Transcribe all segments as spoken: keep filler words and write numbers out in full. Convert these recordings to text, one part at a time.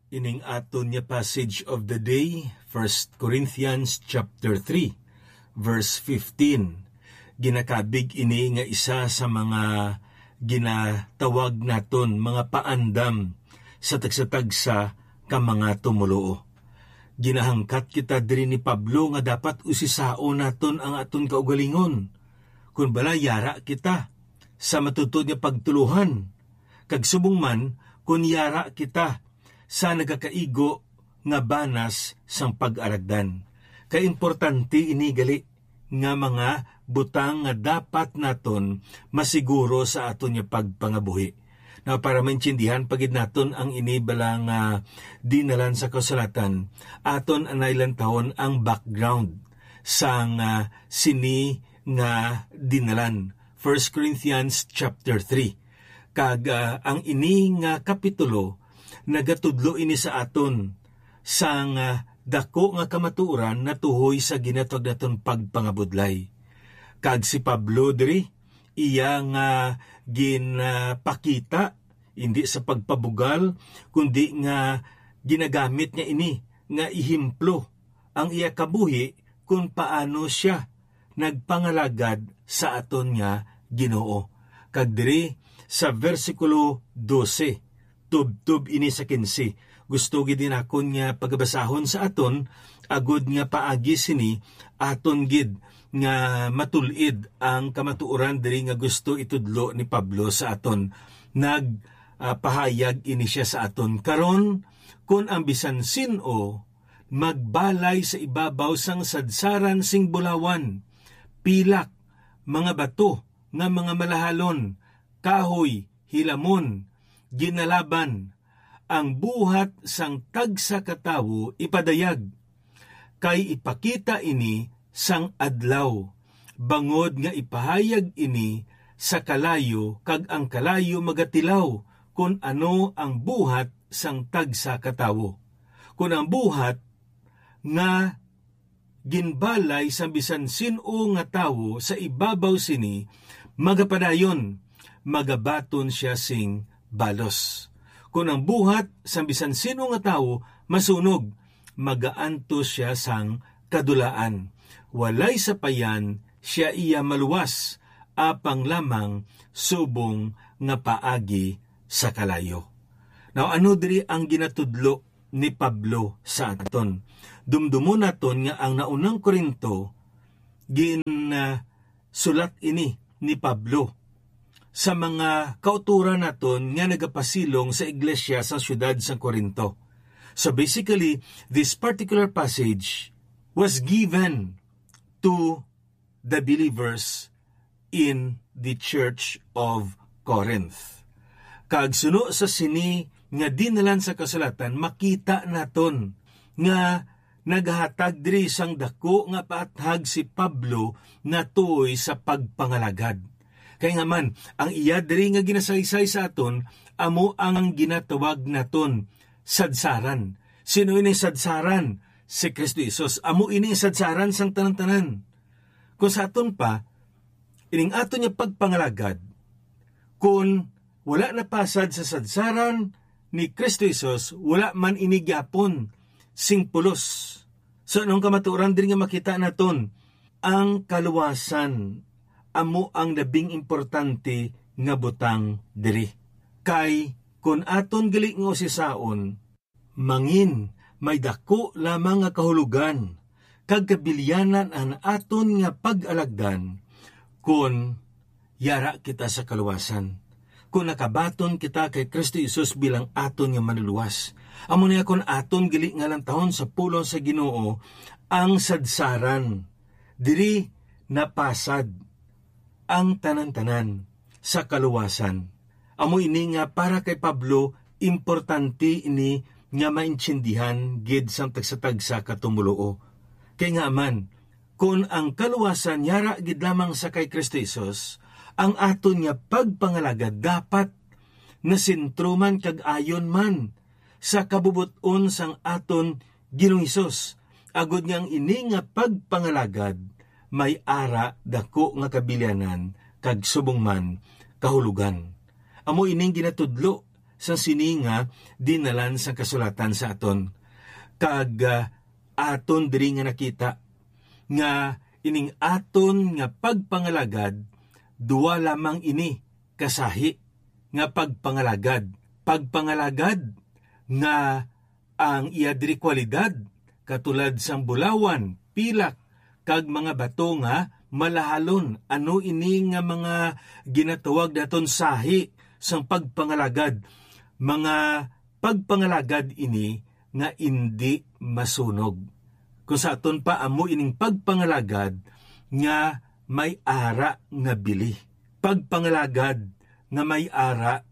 Ining aton nga passage of the day, First Corinthians chapter three, verse fifteen. Ginakabig ini nga isa sa mga ginatawag naton mga paandam sa tagsa-tagsa ka mga tumoluo. Ginahangkat kita diri ni Pablo nga dapat usisaon naton ang aton kaugalingon. Kun bala, yara kita sa matutuod nga pagtuluhan, kag subong man kun yara kita sa nagakaigo nga banas sang pag-alagdan. Kay importante ini gali nga mga butang nga dapat naton masiguro sa aton nga pagpangabuhi. Now, para maintindihan pa gid naton ang ini bala nga dinalan sa kasulatan, aton anay lantawon ang background sang, ah, sini nga dinalan, First Corinthians chapter three. Kag, ah, ang ini nga kapitulo nagatudlo ini sa aton sang, ah, daku nga kamatuoran natuhoy sa ginatawag naton pagpangabudlay. Kag si Pablo diri, iya nga ginapakita, hindi sa pagpabugal, kundi nga ginagamit niya ini nga ehemplo, ang iya kabuhi kung paano sia nagpangalagad sa aton nga Ginoo. Kag diri sa bersikulo dose, tubtob ini sa kinse, gusto gid nakon nga pagabasahon sa aton, agod nga paagi sini aton gid nga matul-id ang kamatuoran diri nga gusto itudlo ni Pablo sa aton. Nag, ah, pahayag ini sia sa aton: Karon, kon ang bisan sin-o magbalay sa ibabaw sang sadsaran sing bulawan, pilak, mga bato nga mga malahalon, kahoy, hilamon, ginalaban, ang buhat sang tagsa ka tawo ipadayag, kay ipakita ini sang adlaw, bangod nga ipahayag ini sa kalayo, kag ang kalayo magatilaw kon ano ang buhat sang tagsa ka tawo. Kon ang buhat nga ginbalay sang bisan sin-o nga tawo sa ibabaw sini magapadayon, magabaton sia sing balos. Kon ang buhat sang bisan sin-o nga tawo masunog, magaantos sia sang kadulaan. Walay sapayan sia iya maluwas, apang lamang subong nga paagi sa kalayo. Now, ano diri ang ginatudlo ni Pablo sa aton? Dumdumon naton nga ang naunang Corinto, gin, ah, sulat ini ni Pablo sa mga kautoran naton nga nagapasilong sa iglesia sa siyudad sa Corinto. So basically, this particular passage was given to the believers in the Church of Corinth. Kag suno sa sini nga dinalan sa kasulatan, makita naton nga naghatag diri sang daku nga paathag si Pablo natuoy sa pagpangalagad. Kay nga man, ang iya diri nga ginasaysay sa aton amo ang ginatawag naton sadsaran. Sino ini sadsaran? Si Cristo Jesus. Amo ini sadsaran sang tanan-tanan. Kung sa aton pa, ining aton nga pagpangalagad, kun wala napasad sa sadsaran ni Cristo Jesus, wala man ini gyapon sing pulos. So, anong kamatuoran diri nga makita naton? Ang kaluwasan amo ang labing importante nga butang diri. Kay kun aton gali nga usisaon, mangin may daku lamang nga kahulogan kag kabilyanan ang aton nga pag-alagdan kon yara kita sa kaluwasan, kon nakabaton kita kay Cristo Jesus bilang aton nga Manlulowas. Amo niya, kon aton gali nga lantawon sa pulong sa Ginoo ang sadsaran, diri napasad ang tanan-tanan sa kaluwasan. Amo ini nga para kay Pablo, importante ini nga maintindihan gid sang tagsa-tagsa ka tumoluo. Kay nga man, kon ang kaluwasan yara gid lamang sa kay Cristo Jesus, ang aton nga pagpangalagad dapat nasentro man kag ayon man sa kabubot-on sang aton Ginoong Hesus, agod nga ang ini nga pagpangalagad may ara daku nga kabilyanan kag subong man kahulogan. Amo ining ginatudlo sa sini nga dinalan sang kasulatan sa aton. Kag, ah, aton diri nga nakita nga ining aton nga pagpangalagad, duwa lamang ini kasahi nga pagpangalagad. Pagpangalagad nga ang iya diri kwalidad, katulad sang bulawan, pilak, kag mga bato nga malahalon. Ano ini nga mga ginatawag naton sahi sang pagpangalagad? Mga pagpangalagad ini nga indi masunog. Kung sa aton pa, amo ining pagpangalagad nga may ara nga bili. Pagpangalagad nga may ara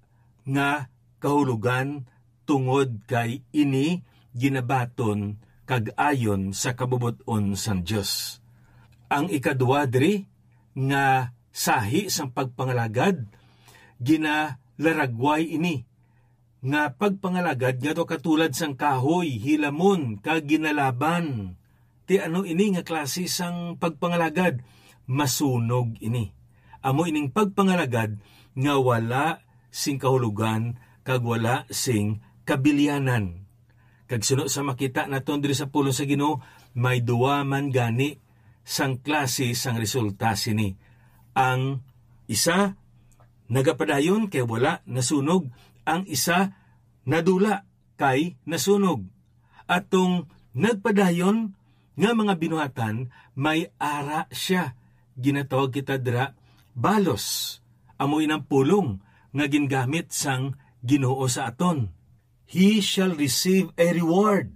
nga kahulogan, tungod kay ini ginabaton kag ayon sa kabubot-on sang Dios. Ang ikadua diri nga sahi sang pagpangalagad, ginalaragway ini nga pagpangalagad nga daw katulad sang kahoy, hilamon, kag ginalaban. Ti ano ini nga klase sang pagpangalagad? Masunog ini. Amo ining pagpangalagad nga wala sing kahulogan kag wala sing kabilianan. Kag suno sa makita naton diri sa pulong sa Ginoo, may duwa man gani sang klase sang resulta sini. Ang isa nagapadayon kay wala nasunog, ang isa nadula kay nasunog. Atong nagpadayon nga mga binuhatan, may ara sia. Ginatawag kita dira balos. Amo inang pulong nga gingamit sang Ginoo sa aton. He shall receive a reward.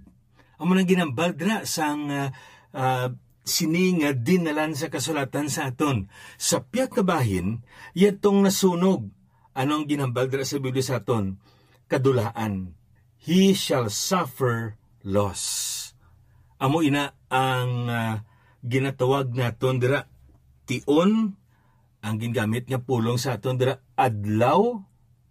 Amo nang ginambal dira sang, ah, ah, sini nga dinalan sa kasulatan sa aton. Sa pihak nga bahin, yadtong nasunog. Ano ang ginambal dira sa Biblia sa aton? Kadulaan. He shall suffer loss. Amo ina ang, ah, ginatawag naton dira, tion, ang gingamit nga pulong sa aton dira, adlaw,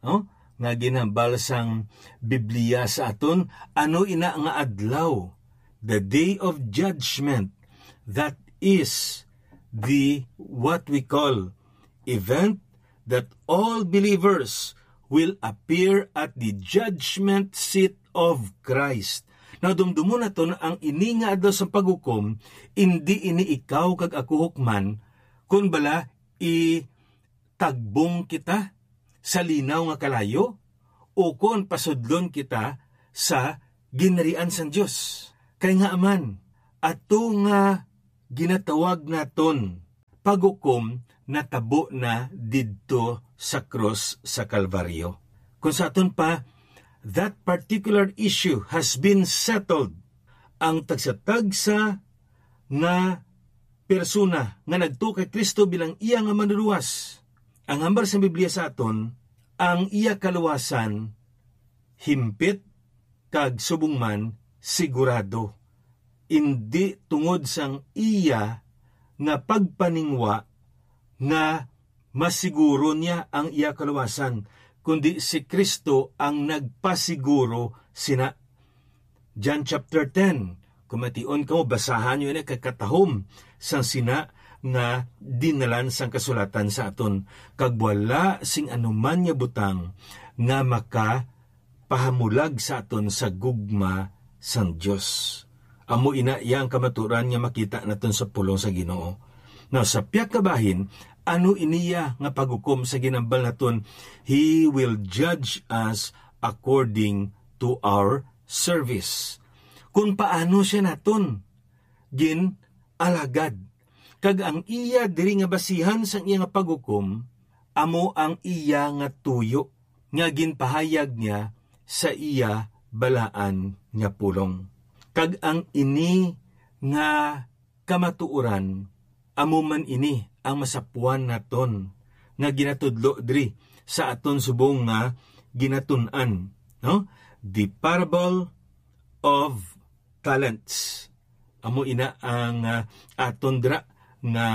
no? Nga ginhambal sang Biblia sa aton, ano ina nga adlaw? The day of judgment, that is the, what we call, event that all believers will appear at the judgment seat of Christ. Now, dumdumon naton ang ini nga adlaw sa paghukom, indi ini ikaw kag ako hukman, kun bala itagbong kita sa linaw nga kalayo, ukon pasudlon kita sa ginharian sang Dios. Kay ngaa man, ato nga ginatawag naton paghukom natabo na didto sa krus sa Kalbaryo. Kung sa aton pa, that particular issue has been settled. Ang tagsa-tagsa nga persona nga nagtuo kay Cristo bilang iya nga Manlulowas, ang hambal sang Biblia sa aton, ang iya kaluwasan himpit kag subong man sigurado, indi tungod sang iya nga pagpaningwa nga masiguro niya ang iya kaluwasan, kundi si Cristo ang nagpasiguro sina. John chapter ten, kung mation kamo, basahan niyo ini kay katahom sang sina nga dinalan sang kasulatan sa aton, kag wala sing anuman nga butang nga makapahamulag sa aton sa gugma sang Dios. Amo ina iya ang kamatuoran nga makita naton sa pulong sa Ginoo. Now, sa pihak nga bahin, ano iniya nga paghukom sa ginambal naton? He will judge us according to our service. Kung paano siya naton gin-alagad. Kag ang iya diri nga basihan sang iya nga paghukom, amo ang iya nga tuyo nga ginpahayag niya sa iya balaan nga pulong. Kag ang ini nga kamatuoran, amo man ini ang masapuan naton nga ginatudlo diri sa aton subong nga ginatun-an, no? The parable of talents. Amo ina ang, ah, aton dira nga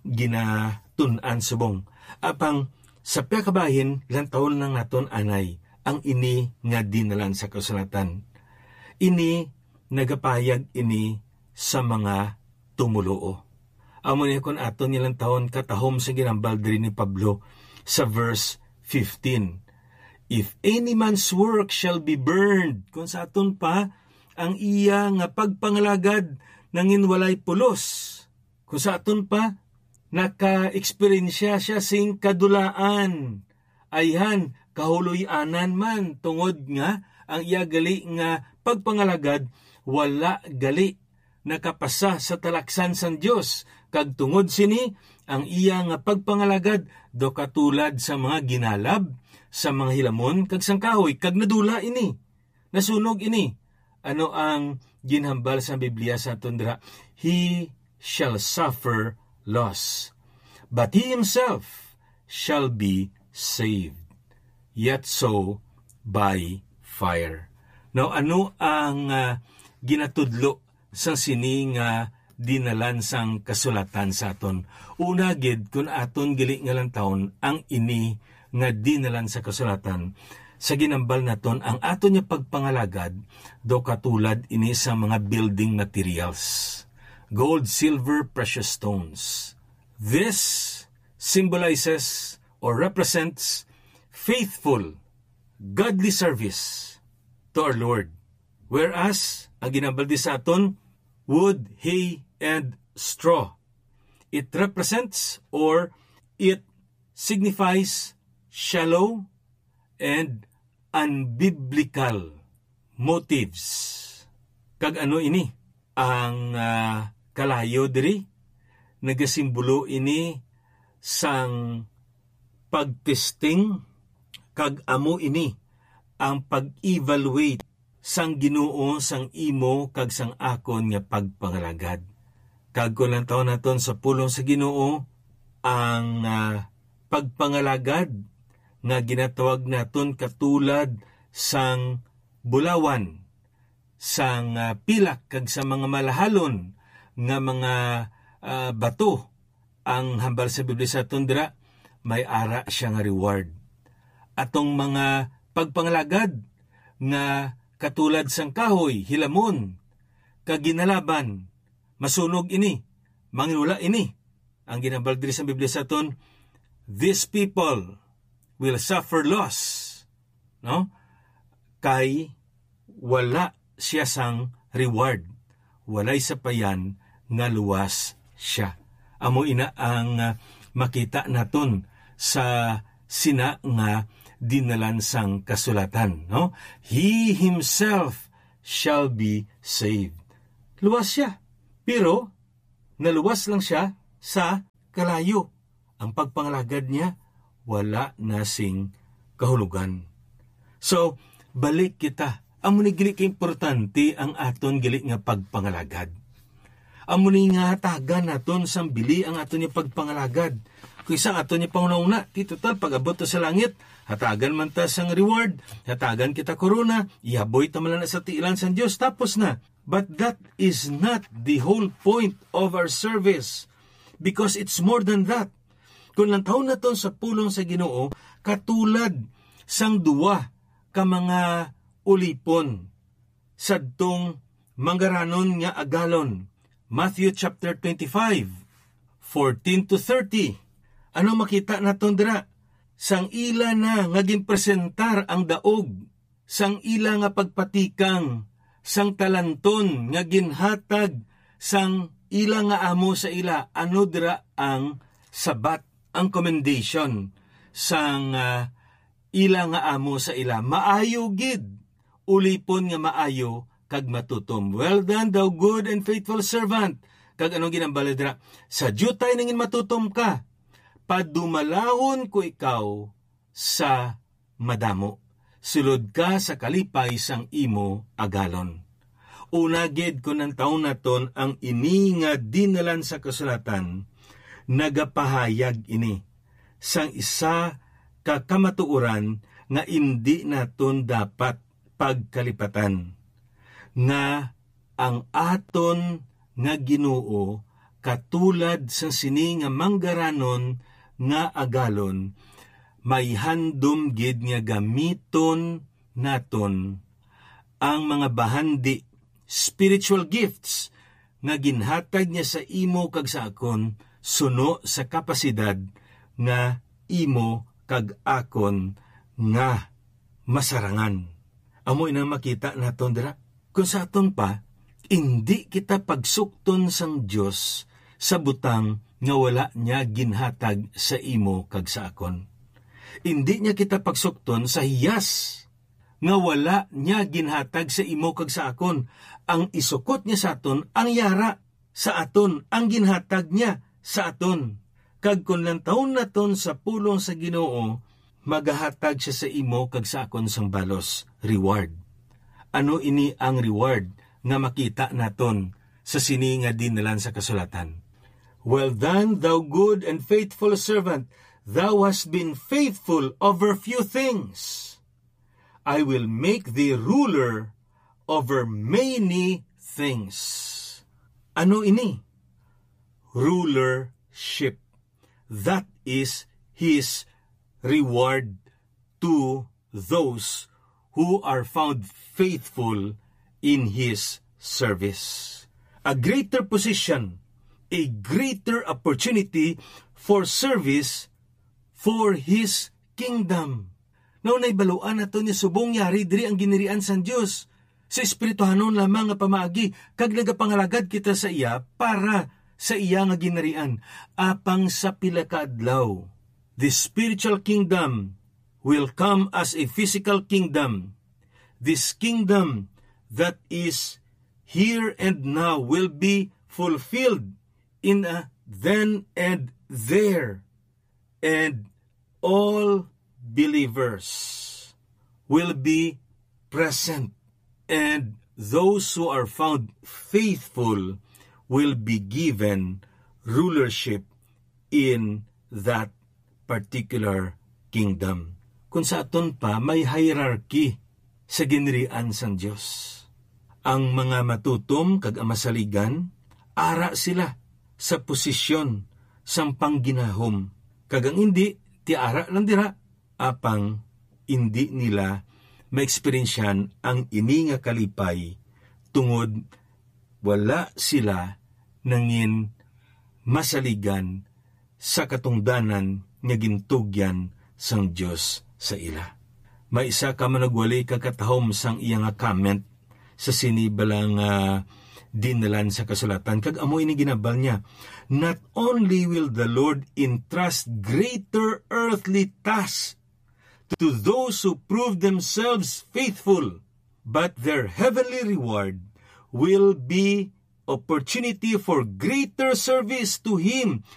ginatun-an subong. Apang sa pihak nga bahin, lantawon lang naton anay ang ini nga dinalan sa kasulatan. Ini nagapahayag ini sa mga tumoluo. Amo ni kon aton nga lantawon katahom sa ginambal diri ni Pablo sa verse fifteen. "If any man's work shall be burned," kung sa aton pa, ang iya nga pagpangalagad nangin walay pulos. Kung sa aton pa, naka-eksperyensya siya sing kadulaan, ayhan, kahuloy-anan man, tungod nga ang iya gali nga pagpangalagad wala gali nakapasa sa talaksan sang Dios, kag tungod sini, ang iya nga pagpangalagad daw katulad sa mga ginalab, sa mga hilamon, kag sang kahoy, kag nadula ini. Nasunog ini. Ano ang ginhambal sa Biblia sa aton dira? "He shall suffer loss, but he himself shall be saved, yet so by fire." Now, ano ang, ah, ginatudlo sang sini nga dinalan sang kasulatan sa aton? Una gid, kun aton gali nga lantawon ang ini nga dinalan sa kasulatan, sa ginambal naton, ang aton nga pagpangalagad daw katulad ini sa mga building materials, gold, silver, precious stones. This symbolizes or represents faithful, godly service to our Lord. Whereas, ang ginambal di sa aton, wood, hay, and straw, it represents or it signifies shallow and unbiblical motives. Kag ano ini? Ang, ah, kalayo diri, nagasimbolo ini sang pagtesting, kag amo ini ang pag-evaluate sang Ginoo sang imo kag sang akon nga pagpangalagad. Kag kung lantawon naton sa pulong sa Ginoo, ang, ah, pagpangalagad nga ginatawag naton katulad sang bulawan, sang, ah, pilak, kag sa mga malahalon nga mga, ah, bato, ang hambal sa Biblia sa aton dira, may ara sia nga reward. Atong mga pagpangalagad nga katulad sang kahoy, hilamon, kag ginalaban, masunog ini, manginwala ini. Ang ginhambal diri sa Biblia sa aton, "These people will suffer loss," no? Kay wala siya sang reward. Walay sapayan nga luwas siya. Amo ina ang, ah, makita naton sa sina nga dinalan sang kasulatan, no? "He himself shall be saved." Luwas siya, pero naluwas lang siya sa kalayo. Ang pagpangalagad niya wala na sing kahulugan. So, balik kita. Amo ni gali ka importante ang aton gali nga pagpangalagad. Amo ni nga hatagan naton sang bili ang aton nga pagpangalagad. Kaysa aton nga panghunahuna, ti total, pag-abot ta sa langit, hatagan man ta sang reward, hatagan kita korona, ihaboy ta man lang sa tiilan sang Dios, tapos na. But that is not the whole point of our service, because it's more than that. Kung lantawon naton sa pulong sa Ginoo, katulad sang duwa ka mga ulipon sadtong manggaranon nga agalon. Matthew chapter twenty-five, fourteen to thirty. Ano makita naton dira? Sang ila na nga ginpresentar ang daog sang ila nga pagpatikang sang talanton nga ginhatag sang ila nga amo sa ila, ano dira ang sabat, ang commendation sang, ah, ila nga amo sa ila? "Maayo gid, ulipon nga maayo kag matutom. Well done, thou good and faithful servant." Kag anong ginambal dira? "Sa diutay nangin matutom ka, padumalahon ko ikaw sa madamo. Sulod ka sa kalipay sang imo agalon." Una gid, kung lantawon naton ang ini nga dinalan sa kasulatan, nagapahayag ini sang isa ka kamatuoran nga indi naton dapat pagkalipatan, nga ang aton nga Ginoo, katulad sa sini nga manggaranon nga agalon, may handom gid nga gamiton naton ang mga bahandi, spiritual gifts, nga ginhatag niya sa imo kag sa akon suno sa kapasidad nga imo kag akon nga masarangan. Amo ina makita naton dira. Kung sa aton pa, indi kita pagsukton sang Dios sa butang nga wala niya ginhatag sa imo kag sa akon. Indi niya kita pagsukton sa hiyas nga wala niya ginhatag sa imo kag sa akon. Ang isukot niya sa aton ang yara sa aton, ang ginhatag niya sa aton. Kag kon lantawon naton sa pulong sa Ginoo, magahatag siya sa imo kag sa akon sang balos, reward. Ano ini ang reward nga makita naton sa sini nga dinalan sa kasulatan? "Well done, thou good and faithful servant. Thou hast been faithful over few things. I will make thee ruler over many things." Ano ini? Rulership. That is his reward to those who are found faithful in his service. A greater position, a greater opportunity for service for his kingdom. Now, naibaluan nato ni subong yari diri ang ginirian sang Dios sa espirituhanon lamang nga pamaagi, kag nagapangalagad kita sa iya para sa iya nga ginirian. Apang sa pila ka adlaw, the spiritual kingdom will come as a physical kingdom. This kingdom that is here and now will be fulfilled in a then and there, and all believers will be present, and those who are found faithful will be given rulership in that particular kingdom. Kung sa aton pa, may hierarchy sa ginirian sang Dios. Ang mga matutom kag ang masaligan, ara sila sa posisyon sang pangginahom, kag ang indi, ti ara lang dira, apang indi nila maeksperiensyahan ang ini nga kalipay, tungod wala sila nangin masaligan sa katungdanan nga gintugyan sang Dios sa ila. May isa ka managwali ka katahom sang iya nga comment sa sini bala nga dinalan sa kasulatan, kag amo ini ginabal niya: "Not only will the Lord entrust greater earthly tasks to those who prove themselves faithful, but their heavenly reward will be opportunity for greater service to Him